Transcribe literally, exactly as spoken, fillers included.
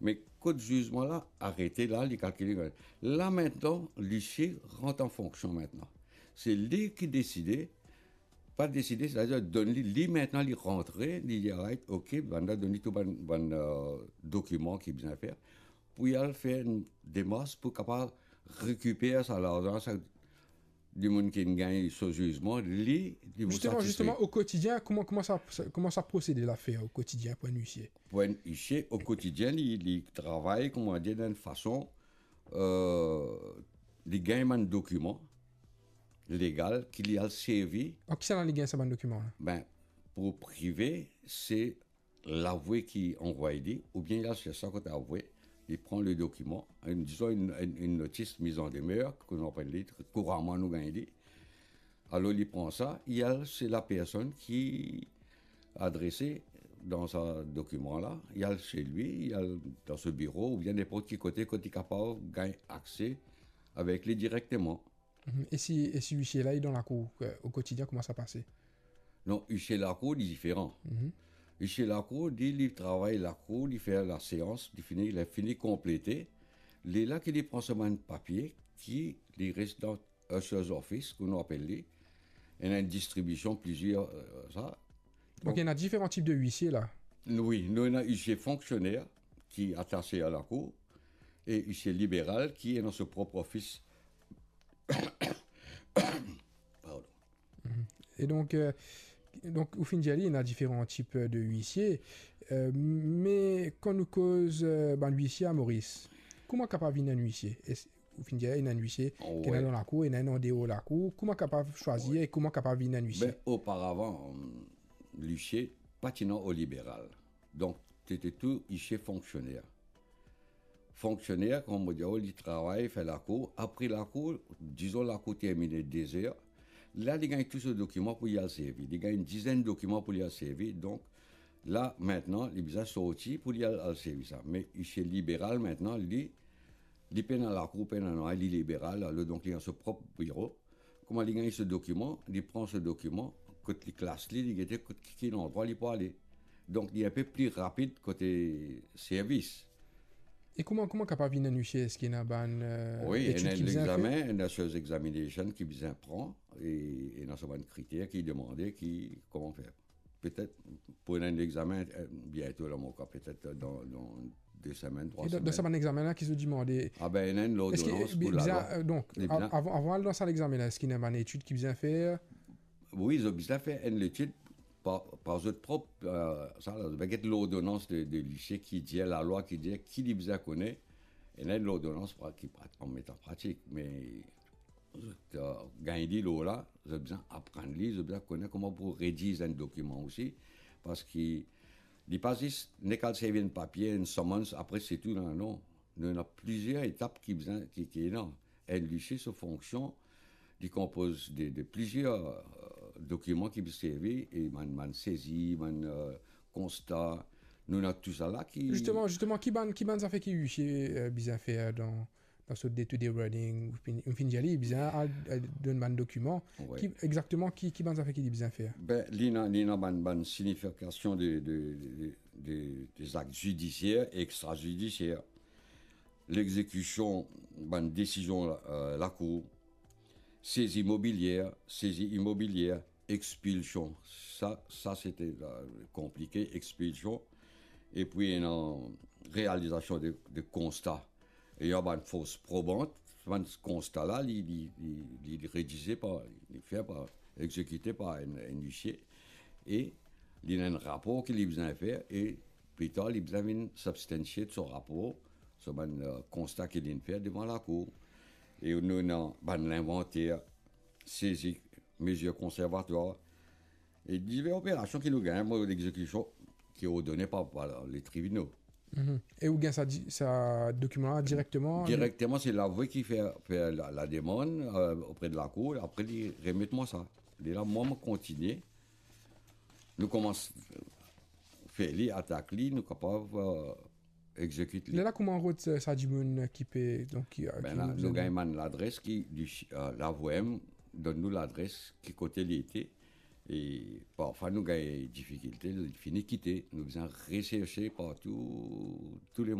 Me kot zizman la arete la, li kalkile. La, mintnan, lisie rant an fonksion mintnan. Se li ki deside, pa deside, setadir donn li, li mintnan, li rantre, li dir, "Alright, ok, bann la donn li tou bann, bann, euh, dokiman ki bizin fer, pou li al fer enn demars pou kapav rekiper sa larzan, sa dimoun ki gagn so zizman, li, li pou Justement, satisfe." Justement, au quotidien, comment, comment ça, ça- comment ça procède l'affaire au quotidien pour un huissier ? Pou enn isie, o kotidien, li, li travay, kouma dir, dan enn fason, euh, li gagn bann dokiman legal ki li al servi. An ki sa li gagn sa bann dokiman la ? Ben, pou prive, se lavoue ki anvoy li, oubien li al sers sa kot lavoue, li pran le dokiman, enn, dizon, enn, enn, enn notis miz an demeur, kouma apel li, kouraman nou gagn li. Alor, li pran sa, li al se lapersonn ki adrese dan sa dokiman la, li al se li, li al dan so biro, oubien ninport ki kote kot li kapav gagn akse avek li direkteman. Mhm. E si, e si huissier la, li dan lakour, euh, au quotidien, comment ça passe ? Non, huissier lakour, li diferan. Mhm. Huissier lakour, li, li travay lakour, li fer laseans, li fini, li fini konplete. Lerla ki li pran so bann papie, ki li res dan huissier office, kouma nou apel li. Ena enn distribision, plizier, euh, sa. Donc, il y en a différents types de huissiers là. Wi, nou ena huissier fonksioner ki atase a lakour e huissier liberal ki ena so prop ofis. Pardon. Mhm. E donk, euh, donk, ou finn dir li, ena diferan tip de huissier. Euh, me kan nou koz, euh, bann huissier a Moris, kouma kapav vinn enn huissier ? Es-, ou finn dir, ena enn huissier ki ena Wi. dan lakour, ena enn andeor lakour. Kouma kapav swazir Wi. e kouma kapav vinn enn huissier ? Ben, oparavan, euh, lisie pa ti ena o liberal. Donk, ti ti tou huissier fonksioner. Fonksioner, kouma mo dir, li travay, fer lakour. Apre lakour, dizon lakour termine de zer, la, li gagn tou so dokiman pou li al servi. Li gagn enn dizenn dokiman pou li al servi. Donk, la, mintnan, li bizin sorti pou li al, al servi sa. Me huissier liberal, mintnan, li, li pena lakour, pena nanye, li liberal, alor, donk, li dan so prop biro. Kouma li gagn so dokiman, li pran so dokiman, kot li klas li, li gete kot ki, ki landrwa li pou ale. Donk, li enpe pli rapid kote servis. E kouma, kouma kapav vinn enn huissier? Eski ena bann, euh, Wi, etid ena ki bizin fer? Legzamin, ena so examination ki bizin pran, e, e ena so bann kriter ki demande, ki, kouma fer. Petet pou ena enn legzamin, euh, biento la, mo krwar, petet dan, dan de semenn, trwa semenn. E dan, dan sa bann legzamin la, ki zot demande? Ah ben, ena enn lordonans pou lalwa. Eski, euh, bizin, euh, donk, Li bizin av-, avan, avan al dan sa legzamin la, eski ena bann etid ki bizin fer? Wi, zot bizin fer enn letid par, par zot prop, euh, sa la, zot bizin get lordonans de, de lisie ki dir, lalwa ki dir, ki li bizin kone. Ena enn lordonans pra-, ki pra-, an met an pratik, me zot, euh, gagn li lor la, zot bizin aprann li, zot bizin kone kouma pou rediz enn dokiman osi, parski li pa zis nek al servi enn papie, enn summons, apre se tou, non, non. Nou ena plizier etap ki bizin, ki, ki ena. Enn lisie, so fonksion, li konpoz de, de plizier, euh, dokiman ki pou servi, e bann, bann sezi, bann, euh, konsta, nou ena tou sa la ki Zisteman, zisteman, ki bann, ki bann zafer ki lisie, euh, bizin fer dan, dan so day-to-day running, ou finn, ou finn dir li, bizin al, al donn bann dokiman. Wi. Ki, exakteman, ki, ki bann zafer ki li bizin fer? Ben, li ena, li ena bann, bann signifikasion de, de, de, de, de zak zidisier e extrazidisier. Lexekision bann desizion la, euh, lakour, sezi mobilier, sezi imobilier, expilsion. Sa, sa se te, euh, konplike, expilsion. Epi ena realizasion de, de konsta. E ena bann fors probant, bann konsta la, li, li, li, li, li redize par, li fer par, exekite par enn, enn lisie. E li ena enn rapor ki li bizin fer, e pli tar, li bizin vinn sibstansie so rapor, so bann, euh, konsta ki li finn fer devan lakour. E nou ena bann linvanter, sezi, mezir konservatwar, e diver operasion ki nou gagn, mo, lexekision ki ordone par, par le tribinal. Mhm. E ou gagn sa di-, sa dokiman la direkteman? Direkteman, se lavoue ki fer, fer la, la demann, euh, opre de lakour, apre li remet mwa sa. Lerla, mwa, mo kontinie. Nou koumans fer li, atak li, nou kapav, euh, exekit li. Lerla, kouma rod sa, sa dimoun ki pe, donk, ki, euh, Ben ki la, nou bizin gagn bann ladres ki, li, euh, lavoue donn nou ladres ki kote li ete. E parfwa nou gagn difikilte, li fini kite. Nou bizin reserse partou, tou le